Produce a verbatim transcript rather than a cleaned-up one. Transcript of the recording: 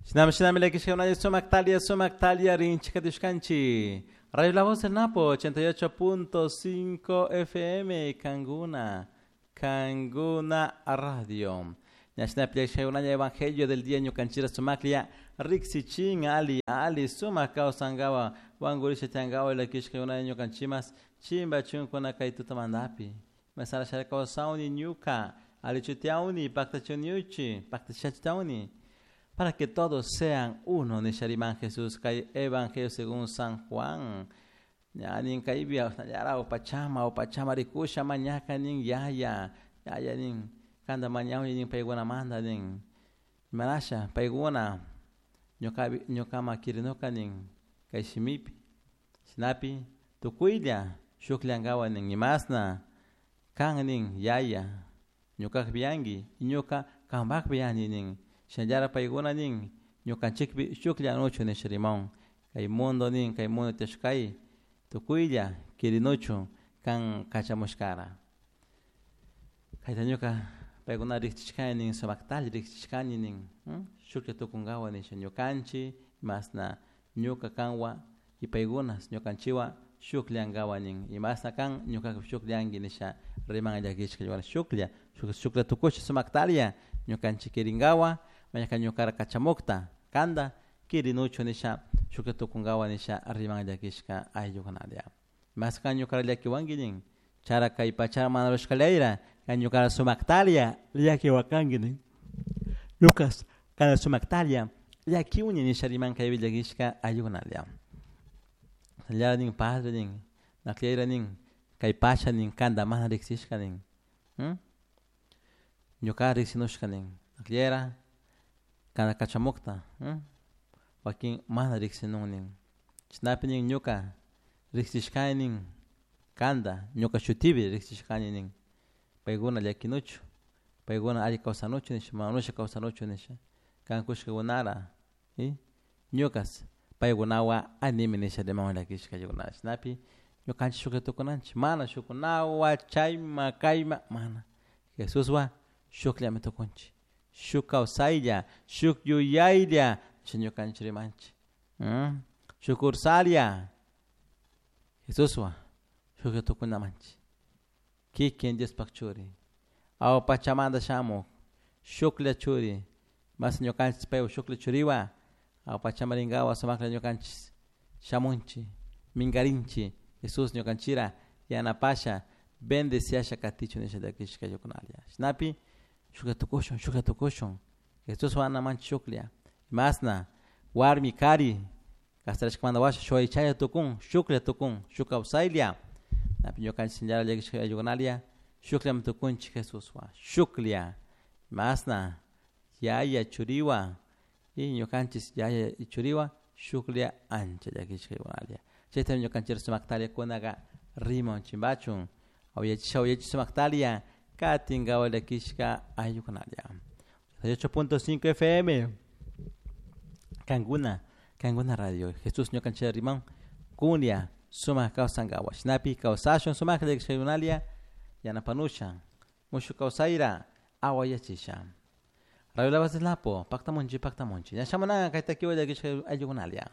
Shinami shinami llakishka sumak talia sumak talia rinchik katushkanchik. Radio La Voz del Napo ochenta y ocho punto cinco F M Canguna, Canguna Radio. Ñashinapi llakishka Evangelio del día ñukanchira sumaklia riksichin ali ali sumak kawsankawa wankurisha tiankawa llakishka ñukanchimas chimba chunkuna kay tutamantapi. Masara shara kawsawni ñuka alichutiawni paktachuniuchi paktachachitawni para que todos sean uno nishariman Jesús kay Evangelio según San Juan. Ñanin kaibia yara upachama upachama rikusha mañaka nin yaya yaya nin kanda mañawni nin payguna manda nin manasha payguna ñuka ñukama kirinuka nin kay shimipi shinapi tukuylla shuklankawa nin imasna kan nin yaya ñukakpi yanki ñuka kampakpi yani nin shinallara paykuna nin ñukanchikpi shukllanuchu nisha rimawun kay mundo nin kay mundo tiyashkay tukuylla kirinuchu kan kachamushkara kayta ñuka paykuna riqchishkani nin sumaktalla riqchishkani nin shuklla tukunkawa nisha ñukanchik imasna ñuka kanwa y paykuna ñukanchikwan shukllankawa nin imasna kan ñukaka shukllanki nisha riman llakishka shuklla shuklla tukusha sumaktalla ñukanchik kirinkawa mañaka ñukara kachamukta kanta kirinuchu nisha shuklla tukunkawa nisha riman llakishka ayllukunalla mas kan ñukara llakiwanki nin chara kay pachara mana rushkallayra kan ñukara sumaktalla llakiwakanki nin ñukas kana sumaktalla llakiwni nisha riman kaypi llakishka ayllukunalla llara nin padre nin nakllayra nin kay pacha nin kanta mana riqsishka nin ñuka riqsinushka nin nakllayra kana kachamukta wakin mana riqsinun nin chashnapi nin ñuka riqsishkani nin kanta ñuka shutipi riqsishkani nin paykuna llakinuchu paykuna alli kawsanuchu nisha manusha kawsanuchu nisha kan kushkakunara ñukas paykunawan animi nisha rimawan llakishka ayllukunata chashnapi ñukanchik shuklla tukunanchik mana shukunawan chayma kayma mana Jesuswan shukllami tukunchik shuk kawsaylla shuk yuyaylla nisha ñukanchik rimanchik shuk ursalla Jesuswan shuklla tukunamanchik kikin Diospak churi awa pachamanta shamuk shuklla churi mas ñukanchik paywan shuklla churiwan awa pachamarinkawa sumaklla ñukanchik shamunchik minkarinchik Jesús ñukanchira yanapasha bendeciasha katichu nisha llakishka ayllukunalla shinapi shuklla tukushun shuklla tukushun Jesuswan anamanchik shuklla imasna warmi kari kasarashkamanta washa shuk aychalla tukun shuklla tukun shuk kawsaylla napi ñukanchik shinallara llakishka ayllukunalla shukllami tukunchik Jesuswan shuklla imasna yaya churiwan y ñukanchik yaya churiwan shuklla ancha llakishka ayllukunalla chaytami ñukanchik sumaktalla kunaka riman chimbachun awayachisha awayachish sumaktalla katinkawa llakishka ayllukunalla ochenta y ocho punto cinco F M Canguna Canguna Radio Jesús ñukanchik riman kunya sumak kawsankawa shinapi kawsashun sumak llakishka ayllukunalla yanapanusha mushuk kawsayra awayachisha Radio La Voz del Napo paktamunchik paktamunchik ñashamunaka kay takiwa llakishka ayllukunalla.